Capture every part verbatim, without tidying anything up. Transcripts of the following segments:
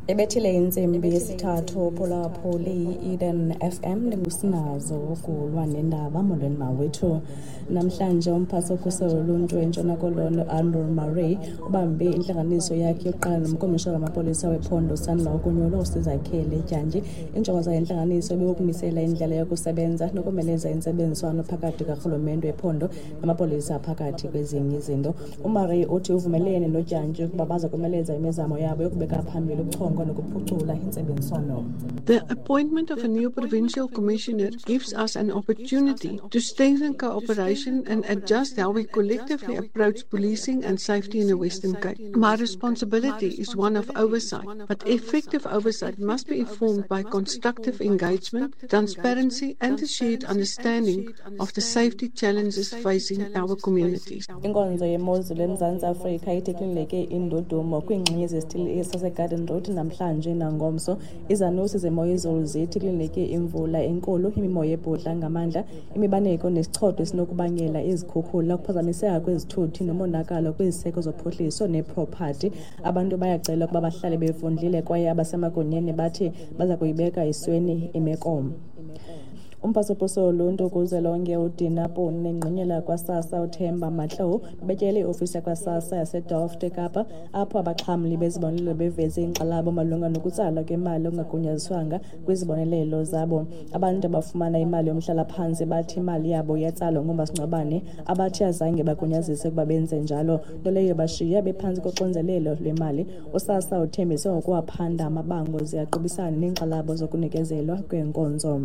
Ebethile intsimbi yesithathu phulaphuli i-Eden F M, ndingusinazo ukulwa nendaba. Molweni mawethu. Namhlanje umphathi wokhuselo loluntu eNtshona Koloni Anroux Marais ubambe intlanganiso yakhe yokuqala nomkomishinala wamapolisa wephondo osandula ukunyulwa uSizakhele Dyantyi. Injongo zale ntlanganiso ibikukumisela indlela yokusebenza nokomeleza intsebenziswano phakathi karhulumente wephondo namapolisa phakathi kwezinye izinto. UMarais uthi uvumelene noDyantyi ukuba baza komeleza imizamo yabo yokubeka phambili ukuchonga nokuphucula intsebenziswano. The appointment of a new provincial commissioner gives us an opportunity to strengthen cooperation and adjust how we collectively approach policing and safety in the Western Cape. My responsibility is one of oversight, but effective oversight must be informed by constructive engagement, transparency and a shared understanding of the safety challenges facing our communities. Inkonzo yemozulu eMzantsi Afrika ithi kulindeleke indudumo kwiingxenye zesithili saseGarden Road namhlanje nangomso. Izanusi zemo yezulu zithi kulindeleke imvula enkulu, imimoya ebhudla ngamandla, imibaneko nesichotho esinokubangela izikhukhula, ukuphazamiseka kwezithuthi nomonakalo kwiziseko zophuhliso nepropathi. Abantu bayacelwa ukuba bahlale befundile kwaye abasemagunyeni bathi baza kuyibeka esweni imeko. Umphathiswa woluntu kuzwelonke uDina Poni nengqonyela kwaSASSA uThemba Matlou betyele iofisi yakwaSASSA yaseDelft eKapa, apho abaxhamli bezibonelelo beveze inkxalabo malunga nokutsalwa kwemali okungagunyaziswanga kwizibonelelo zabo. Abantu abafumana imali yomhlalaphantsi bathi imali yabo iyatsalwa ngomasingcwabane abathi azange bagunyazise ukuba benze njalo, nto leyo bashiya bephantsi koxinzelelo lwemali. USASSA uthembise ngokuwaphanda amabango ze aqubisane neenkxalabo zokunikezelwa kweenkonzo.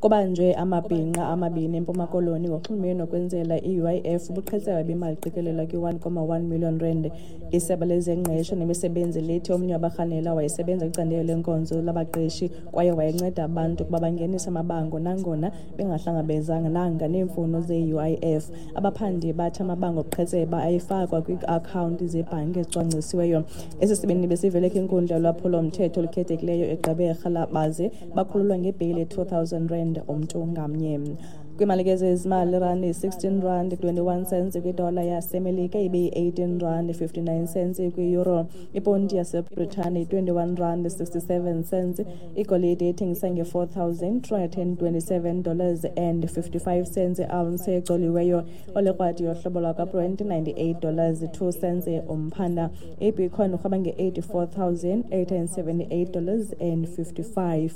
Kubanjwe amabhinqa amabini eMpuma Koloni ngoxhumene nokwenzela i-U I F ubuqhetseba bemali eqikelelwa kwi-one comma one million rand. Isebe lezengqesho nemisebenzi lithi omnye wabarhanelwa wayesebenza kwicandelo lenkonzo labaqeshi kwaye wayenceda abantu ukuba bangenise amabango nangona bengahlangabezananga neemfuno ze-U I F. Abaphandi bathi amabango obuqhetseba ayefakwa kwii-akhawunti zebhanki ezicwangcisiweyo. Esi sibini besivele kwinkundla yolwaphulo-mthetho olukhethekileyo eGqeberha baze bakhululwa ngebheyile ye-two thousand rand umntu ngamnye. Kwimali ke zezimali, irandi yi-sixteen rand twenty-one cents kwidola yaseMelika, ibe yi-eighteen rand fifty-nine cents kwi-euro. Iponti yaseBritane yi-twenty-one rand sixty-seven cents. Igolide ithengisa nge-four thousand two hundred and twenty-seven dollars and fifty-five cents i-ounce ecoliweyo. Olekrwadi yohlobo lwakwaBrent ninety-eight dollars two cents umphanda. IBitcoin urhweba nge-eighty-four thousand eight hundred seventy-eight dollars and fifty-five.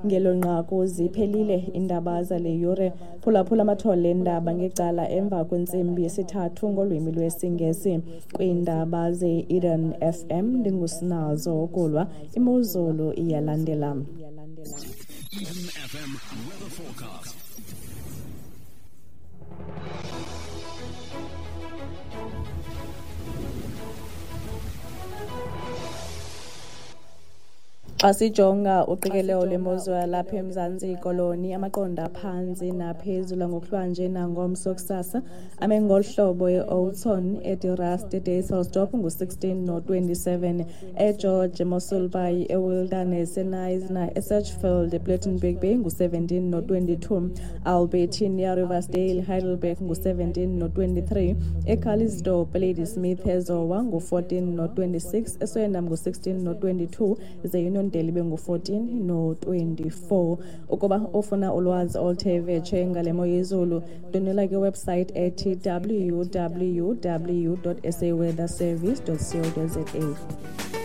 Ngelo nqaku ziphelile iindaba zale yure. Phulaphula amathole eendaba ngecala emva kwentsimbi yesithathu ngolwimi lwesiNgesi. Kwiindaba ze-Eden F M ndingusinazo ukulwa. Imozulu iyalandela. Eden F M weather forecast. Xa sijonga uqikelelo lwemozulu yalapha eMzantsi Koloni, amaqondo aphantsi naphezulu ngokuhlwanje nangomso kusasa ame ngolu hlobo: eOudtshoorn, eDe Rust, eDysselsdorp ngu-sixteen no-twenty-seven, eGeorge, eMossel Bay, eWilderness, eKnysna, eSedgefield, ePlettenberg Bay ngu-seventeen no-twenty-two, Albertinia, Riversdale, Heidelberg ngu-seventeen no-twenty-three, eCalitzdorp, Ladysmith, eZowa ngu-fourteen no-twenty-six, eSwellendam ngu-sixteen no-twenty-two, ze-Union Deli bengu-fourteen no-twenty-four. Ukuba ufuna ulwazi oluthe vetshe ngale mo yezulu, ndwendwela kwiwebsite ethi w w w dot s a weather service dot co dot z a.